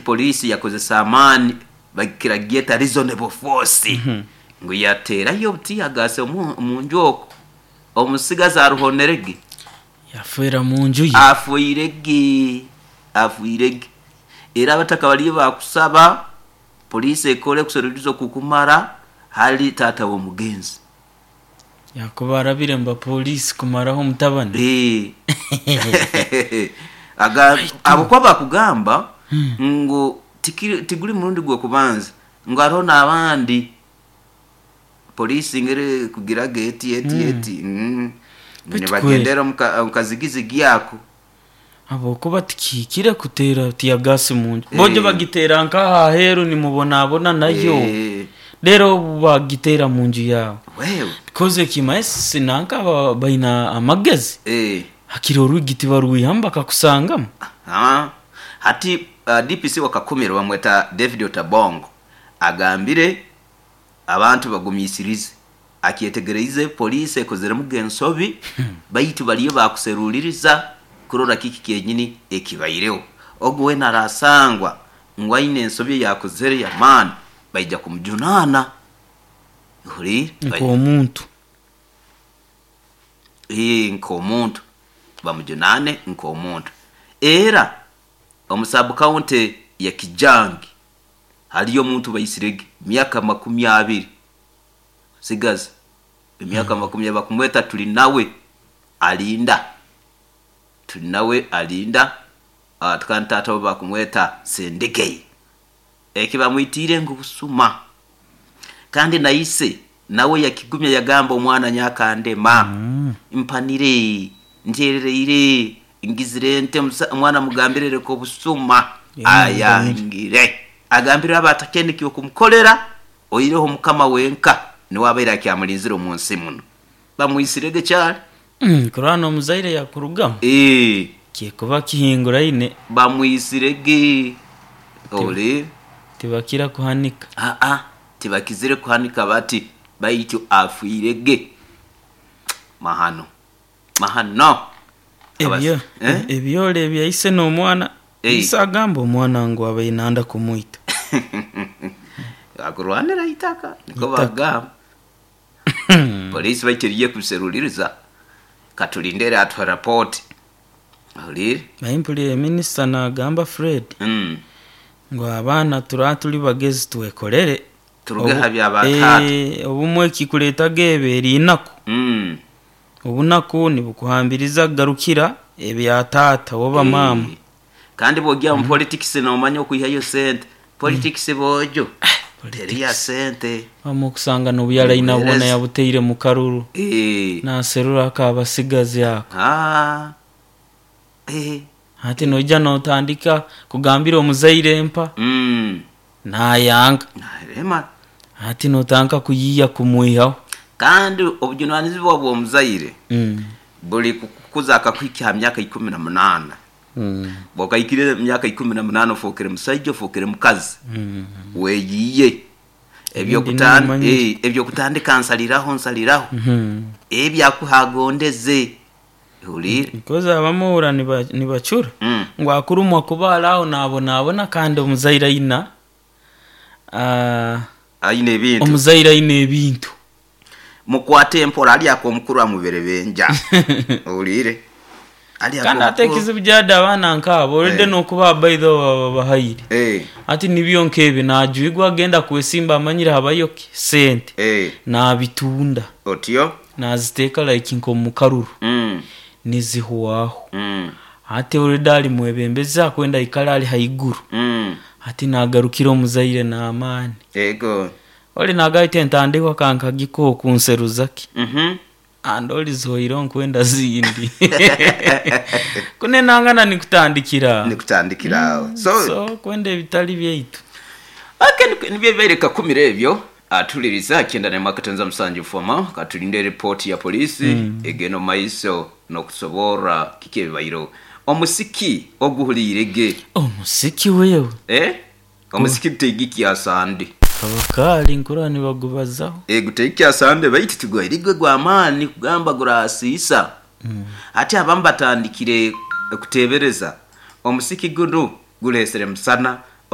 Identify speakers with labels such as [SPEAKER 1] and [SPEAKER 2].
[SPEAKER 1] Poliisi yakozesa amaani bakira gyeta reasonable force ngu yateerayo obu-teargas omu nju okwo omutsigazi aruhonere gye.
[SPEAKER 2] Yafeera mu nju ye.
[SPEAKER 1] Afwire gye, afwire gye. Era abataka bariyo baakusaba poliisi ekore okuseruliiriza okukumara hali taata w'omugenzi.
[SPEAKER 2] Yakuba arabire mu bapoliisi kumaraho omutabani.
[SPEAKER 1] Eeh. Aga ahabw'okuba bakugamba ngu tikiri tiguri murundi gw'okubanza ngu hariho n'abandi poliisi ngu erikugira ge eti eti eti ngu
[SPEAKER 2] Beitu
[SPEAKER 1] nibagyendera omu ka omu kazigizigi ako.
[SPEAKER 2] Ahabw'okuba tikihikire kuteera tiyagaasi mu nju. Bojo bagiteera nk'aha aheeru nimubonabona nayo. Reero obu bagiteera mu nju yaawe. Because ekimanyisa nanka baba baine amagezi, hakiri orwigi tibarwihamu bakakusangamu.
[SPEAKER 1] Hati DPC wa Kakumiro bamweta David Otabongo agambire Abantu bagumiisirize. Akyetegereize poliisi ekozeremu ge ensobi baitu bariyo baakuseruuliriza kurora kiki kyenyini ekibaireho. Ogu weena araasangwa ngu aine ensobi ei akozere y'amaani, baija kumujunaana. Ohuriire?
[SPEAKER 2] Nk'omuntu.
[SPEAKER 1] Ee, nk'omuntu. Bamujunaane nk'omuntu. Era omu sub-county ya Kijangi, Hariyo omuntu baisirege myaka 20, sigaza emyaka 20 bakumweta Turinawe Alinda. Turinawe Alinda kandi taata we bakumweta Sendegeye. Eki bamwitiire ngu busuma. Kandi na ise nawe yakigumya yagamba omwana nyakandema, mpanire, ntyerereire, Ngizire nti, Omwana mugambire leka obusuma. Ayangire. Agambire abe atakyenda eky'okumukorera, oihireho Mukama wenka niwe abaire akyamurinzire omu nsi muno. Bamwitsirege kyari.
[SPEAKER 2] Kurora n'omuzaire yakurugamu, kyekuba kihinguraine.
[SPEAKER 1] Bamwitsirege. Oreeba?
[SPEAKER 2] Tibakira kuhanika.
[SPEAKER 1] Aa, tibakizire kuhanika bati, baitu afiirege. Mahano. Mahano!
[SPEAKER 2] Ebyo ebyole ebya ise n'omwana, ise agamba omwana ngu abaire nanda kumwita.
[SPEAKER 1] Akurwanira itaka nikwo bakugamba. Poliisi baitu eriyo ekubiseruliriza, katulinde eratuha rapooti. Ohuliire?
[SPEAKER 2] Naye mpulire minisita nagamba Fred ngu abaana turaba turi bagezi twekorere.
[SPEAKER 1] Turuge aha bya ba taata.
[SPEAKER 2] Obumwe ekikureetaga eba eri enaku. Obunaku nibukuhambiriza kugarukira ebya taata oba maama.
[SPEAKER 1] Kandi bwogya omu politikisi nomanya okwihayo sente. Politikisi boojo teri ya sente.
[SPEAKER 2] Wamma okusanga n'obu yaraina bwona yabutaire mu karuru naserura akabasigazi ako. Hati noija notandika kugambira omuzaire mpa, nayanga. Hati notandika kuyiiya kumwihaho.
[SPEAKER 1] Kandi obujunanizibwa bw'omuzaire buri kukukuza akakuhikya ha myaka 18. Bw'okahikire emyaka 18 ofookere musaija, ofookere mukazi, weeyiiye. Eby'okutandika nsaliraho nsaliraho, ebi akuhe agondeze. Ohuriire?
[SPEAKER 2] Because abamwe ohurira nibacura ngu akurumwa kuba ari aho nabonabona kandi omuzaire aine
[SPEAKER 1] Aine ebintu.
[SPEAKER 2] Omuzaire aine ebintu.
[SPEAKER 1] Mukwate mpora ari ak'omukuru amuberebenja. Ohuriire? Ari
[SPEAKER 2] Kandi ate
[SPEAKER 1] ak'omukuru.
[SPEAKER 2] ekizibu gyadi abaana nk'abo already n'okubaha by the way baba babahaire. Hati nibyo nk'ebyo najwigwa agenda kwesimba amanyire habayo ki? Sente. Nabitunda.
[SPEAKER 1] Otyo?
[SPEAKER 2] Naziteeka like nk'omu karuru. Nizihwaho. Hati already ari mwebembezi akwenda aikare ari haiguru. Hati nagarukira omuzaire n'amaani.
[SPEAKER 1] Ego.
[SPEAKER 2] Ori nagamba ati entandikwa ka nkagikuhe okunseruza ki? And ori zihoireho nkwenda zindi. Kunu enangana nikutandikira aho.
[SPEAKER 1] Nikutandikira aho. So,
[SPEAKER 2] So kwenda ebitari byaitu.
[SPEAKER 1] Okay, nibyo ebibaire kakumire ebyo. Atuliriza 97 Foma katulinde report ya police egenda omu maiso nokusoborra kiki ebibaireho. Omusiki oguhuliire ge.
[SPEAKER 2] Omusiki wewe.
[SPEAKER 1] Eh? Omusiki guteigikya Sande.
[SPEAKER 2] Abakaali nkurora nibagubazaho.
[SPEAKER 1] Eh, guteigikya Sande baitu tigwaire gwe gw'amaani kugamba gurasiisa. Hati abamu batandikire kuteebereza omusiki gunu gureesire musana.